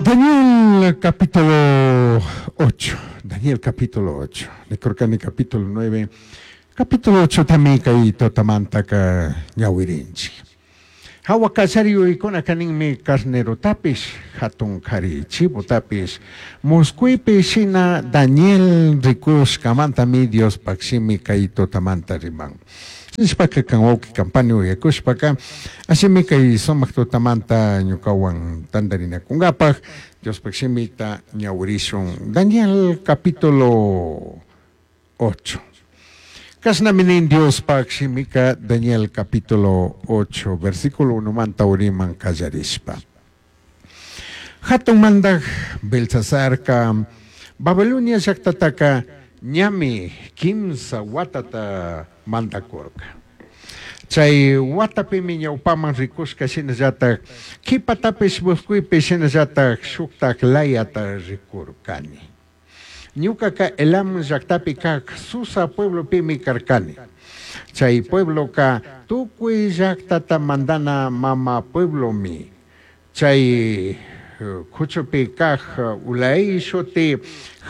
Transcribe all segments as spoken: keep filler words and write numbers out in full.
Daniel capítulo ocho. Daniel capítulo ocho. Nikurkani capítulo nueve. Capítulo ocho también kay tutamantaka ñawirinchik. Hawa kallari yuyaykunaka ninmi carnerotapish, hatun kari chivotapish, muscuipi shina Daniel rikushkamantami Diospaj shimi kay tutamanta riman. Nishpaka kan wawki kan pani uyakushpaka, ashimi kay sumak tutamanta ñukawan tantarinakunkapaj Diospaj shimita ñawirishun. Daniel capítulo ocho. Kashnami nin Diospaj shimika Daniel capítulo ocho, versículo uno manta uriman kallarishpa. Hatun mandaj Belsasarka Babilonia llaktataka ñami kimsa watata mandakurka. Chay watapimi ñawpaman rikushka shinallatak kipatapish muscuypi shinallatak shuktak layata rikurkani. Ñukaka Elam llaktapi kak Susa pueblopimi karkani. Chay puebloka tukuy llaktata mandana mama pueblomi. Chay kuchupi kak Ulai shuti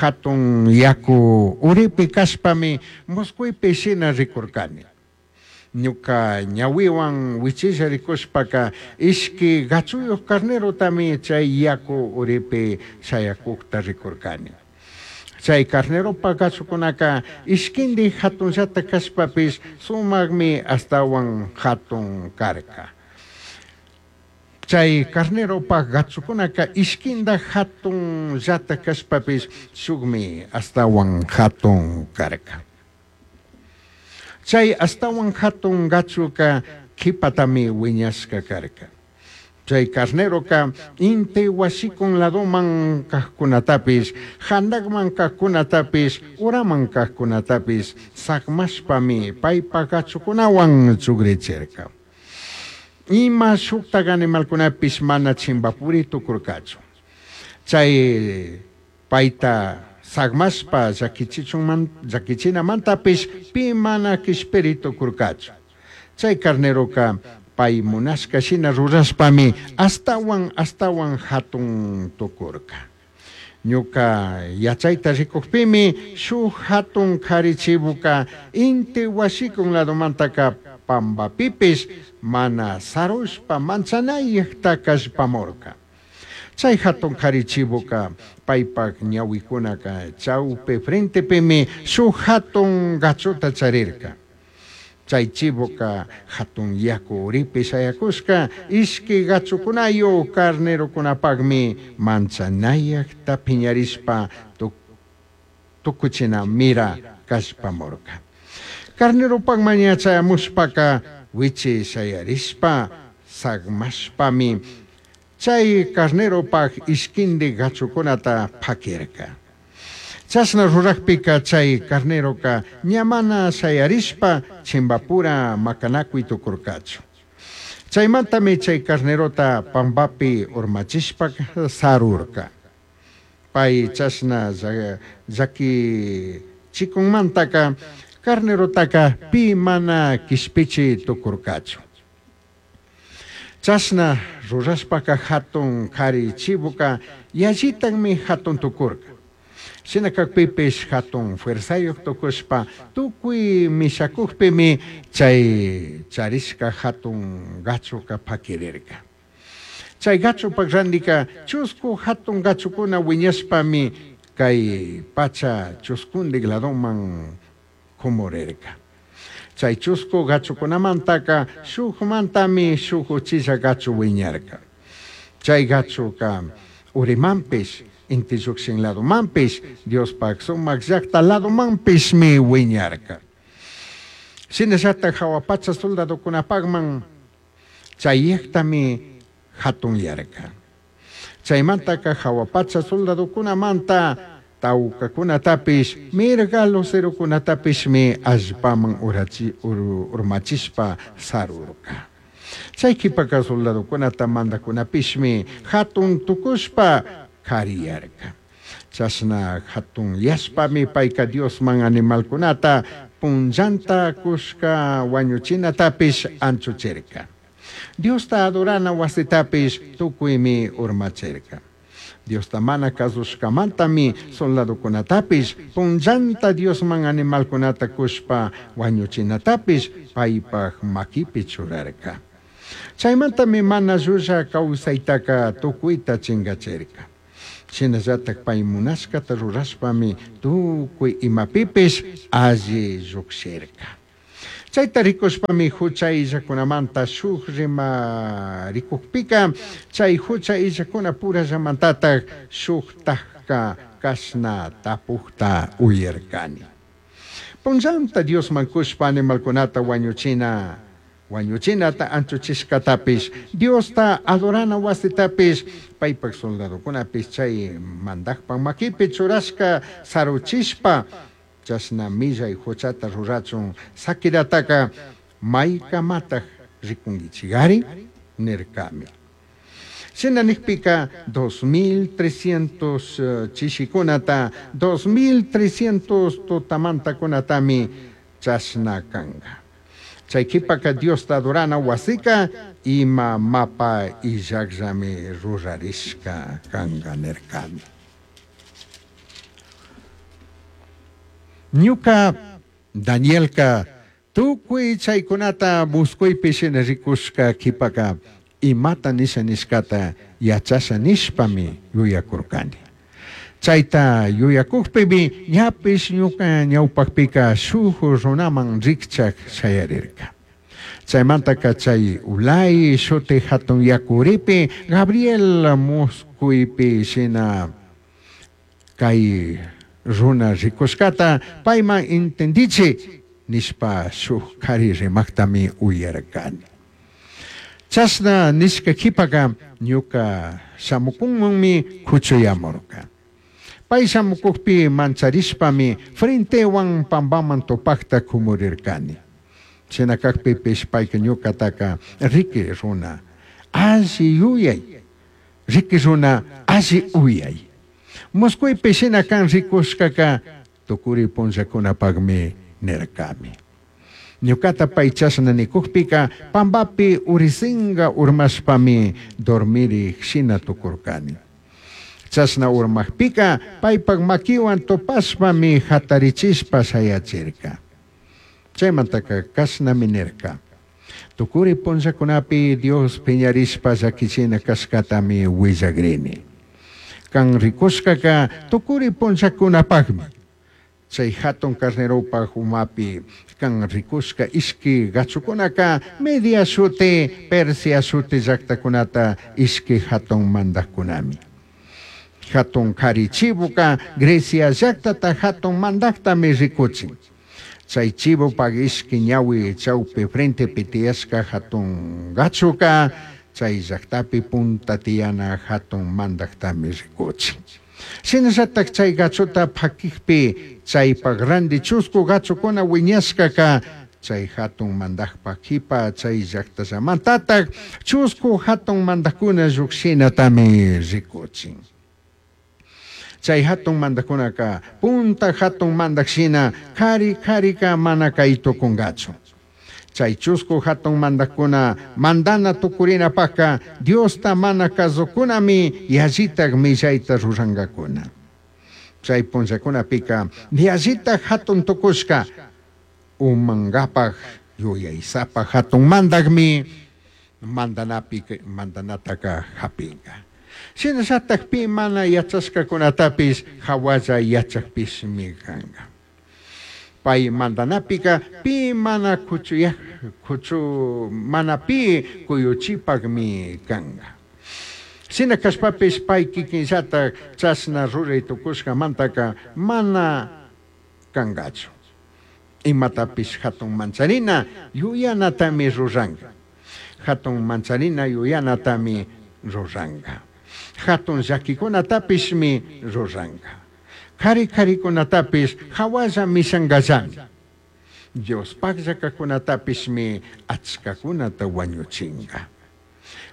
hatun yaku uripi kashpami muscuypi shina rikurkani. Ñuka ñawiwan wichilla rikushpaka ishki gachuyuq carnerotami chay yaku uripi shayakukta rikurkani. Chay carneropa gachukunaka ishkindi hatunllata kashpapish sumakmi astawan hatun karka. Chay carneropa gachukunaka ishkinda hatunllata kashpapish shukmi astawan hatun karka. Chay astawan hatun gachuka kipatami wiñashka karka. Chay carneroka inti washikun ladoman kajkunatapis, handakman kajkunatapis, uraman kajkunatapis, sakmashpami paypa gachukunawan chugrichirka. Ima shuktak animalkunapis mana chimbapuri tukurkachu. Chay payta sakmashpa llakichichunman, llakichinamantapis pi mana kishpiri tukurkachu. Chay carneroka pay munashka shina rurashpami astawan astawan hatun tukurka. Ñuka yachayta rikukpimi shuk hatun kari chivuka inti washikun ladomantaka pambapipis mana sarushpa manchanayakta kallpamurka. Chay hatun kari chivuka paypak ñawikunaka chawpi frentepimi shuk hatun gachuta charirka. Chay chivoka hatun yaku uripi shayakushka ishki gachukunayu carnerokunapakmi manchanayakta piñarishpa tukuchina mira kallpamurka. Carneropak maña chayamushpaka wichi shayarishpa sakmashpami chay carneropak ishkindi gachukunata pakirka. Chashna rurakpika chay carneroka ña mana shayarishpa chimbapura makanakuy tukurkachu. Chaymantami chay carnerota pambapi urmachishpa sarurka. Pay chashna llakichikunmantaka carnerotaka pi mana kishpichi tukurkachu. Chashna rurashpaka hatun kari chivuka yallitanmi hatun tukurka. Shina kakpipish hatun fuerzayuq tukushpa tukuy mishakukpimi chay charishka hatun gachuka pakirirka. Chay gachupak randika chusku hatun gachukuna wiñashpami kay pacha chuskundik ladoman kumurirka. Chay chusku gachukunamantaka shukmantami shuk uchilla gachu wiñarka. Chay gachuka urimanpish inti llukshin ladomanpish Diospaj sumak llakta ladomanpishmi wiñarka. Shinallatak hawa pacha soldadokunapakman chayllaktami hatunyarka. Chaymantaka hawa pacha soldadokunamanta tawkakunatapish mirga lucerokunatapishmi allpaman urachi, ur, urmachishpa sarurka. Chay kipaka soldadokunata mandakunapishmi hatun tukushpa kariyarka. Chashna hatun yashpami payka Diosman animalkunata punllanta kushka wañuchinatapish anchuchirka. Diosta adorana wasitapish tukuymi urmachirka. Diosta mana cazushcamantami soldadocunatapish, punllanta Diosman animalcunata cushpa huañuchinatapish paipaj maquipi churarca. Chaimantami mana llulla causaitaca tucuita chingachirca. Shinallataj pai munashcata rurashpami tucui imapipish alli llujshirca. Chaita ricushpami jucha illacunamanta shuj rimaricujpica, chay jucha illacuna purallamantataj shujtajca cashna tapujta uyarcani. Punllanta Diosman cushpa animalcunata huañuchina, huañuchinata anchuchishcatapish, Diosta adorana huasitapish, paipaj soldadocunapish chay mandajpa maquipi churashca saruchishpa, chashna millai juchata rurachun saquirataca maicamataj ricunguichigari nircami. Shina nijpica dos mil trescientos chishicunata, dos mil trescientos tutamantacunatami chashna canga. Chay quipaca Diosta adorana huasica ima mapa illajllami rurarishca canga nircami. Ñuca Danielca tucui chaicunata muscuipi shina ricushca quipaca imata nisha nishcata yachasha nishpami yuyacurcani. Chaita yuyacujpimi ñapish ñuca ñaupajpica shuj runaman rijchaj shayarirca. Chaimantaca chay Ulai shuti jatun yacuripi Gabriel muscuipi shina cai runa ricushcata paiman entendichi nishpa shuj cari rimajtami uyarcani. Chashna nishca quipaca ñuca shamucunmanmi cuchuyamurca. Pai shamucujpi mancharishpami frentehuan pambaman tupajta cumurircani. Shina cajpipish paica ñucataca riqui runa alli yuyai, riqui runa alli uyai. Muscuipi shina can ricushcaca tucuri punllacunapajmi nircami. Ñucata pai chashna nicujpica pambapi urisinga urmashpami dormirij shina tucurcani. Chashna urmajpica paipaj maquihuan tupashpami jatarichishpa shayachirca. Chaimantaca cashnami nirca. Tucuri punllacunapi Dios piñarishpa llaquichina cashcatami huillagrini. Can ricushcaca tucuri punllacunapajmi. Chay jatun carneropaj umapi can ricushca ishqui gachucunaca Media shuti, Persia shuti llactacunata ishqui jatun mandajcunami. Jatun cari chivoca Grecia llactata jatun mandajtami ricuchin. Chay chivopaj ishqui ñahui chaupi frentepi tiyashca jatun gachuca chay llactapi punta tiyana jatun mandajtami ricuchin. Shinallataj chay gachuta paquijpi chaypaj randi chuscu gachucuna wiñashcaca chay jatun mandajpa quipa chay llactallamantataj chuscu jatun mandajcuna llujshinatami ricuchin. Chay jatun mandajcunaca punta jatun mandaj shina cari carica mana cai tucungachu. Chay chuscu jatun mandajcuna mandana tucurinapajca Diosta mana cazucunami yallitaj millaita rurangacuna. Chay punllacunapika yallitaj jatun tucushca umangapaj yuyaisapa jatun mandajmi mandanapi mandanataca japinga. Shinallataj pi mana yachashcacunatapish jahualla yachajpishmi canga. Pai mandanapika pi mana cuchuyaj cuchu mana pi cuyuchipajmi canga. Shina cashpapish pai kikinllataj chashna ruray tucushcamantaka mana cangachu. Imatapish jatun mancharina yuyanatami ruranga. Jatun mancharina yuyanatami ruranga. Jatun llaquicunatapishmi ruranga. Cari caricunatapish jahualla mishangallami. Diospaj llacacunatapishmi achcacunata huañuchinga.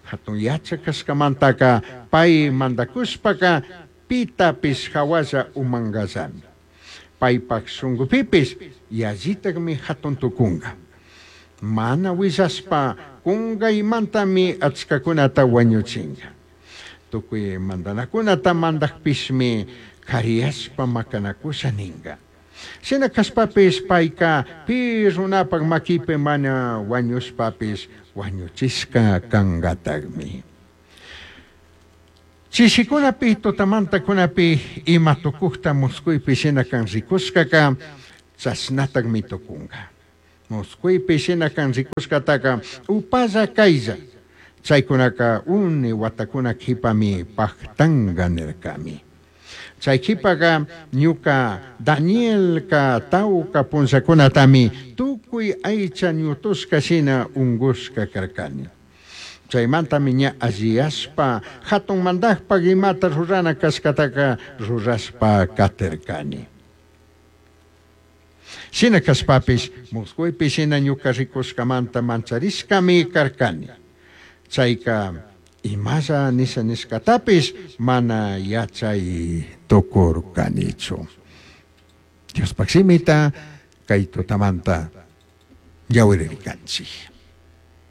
Jatun yachacashcamantaka pai mandacushpaca pitapish jahualla umangallami. Paipaj shungupipish yallitajmi jatun tucunga. Mana huillashpa cungaimantami achcacunata huañuchinga. Tucui mandanacunata mandajpishmi jariyashpa macanakusha ninga. Shina kashpapish payka pi runapak makipi mana wañushpapish wañuchishka kangatagmi. Chishikunapi tutamantakunapi ima tukukta muskuypi shina kan rikushkaka chashnatakmi tukunka. Muskuypi shina kan rikushkataka upalla kaylla. Chaykunaka uni watakuna kipami paktanga nirkami. Chay kipaka ñuka Danielka tawka punllakunatami tukuy aycha ñutushka shina ungushka karkani. Chaymantami ña alliyashpa hatun mandakpak imata rurana kashkataka rurashpa katirkani. Shina kashpapish muskuypi shina ñuka rikushkamanta mancharishkami karkani. Chayka imalla nisha nishkatapish mana yachay tukurkanichu. Diospak shimita kay tutamanta ñawirirkanchik.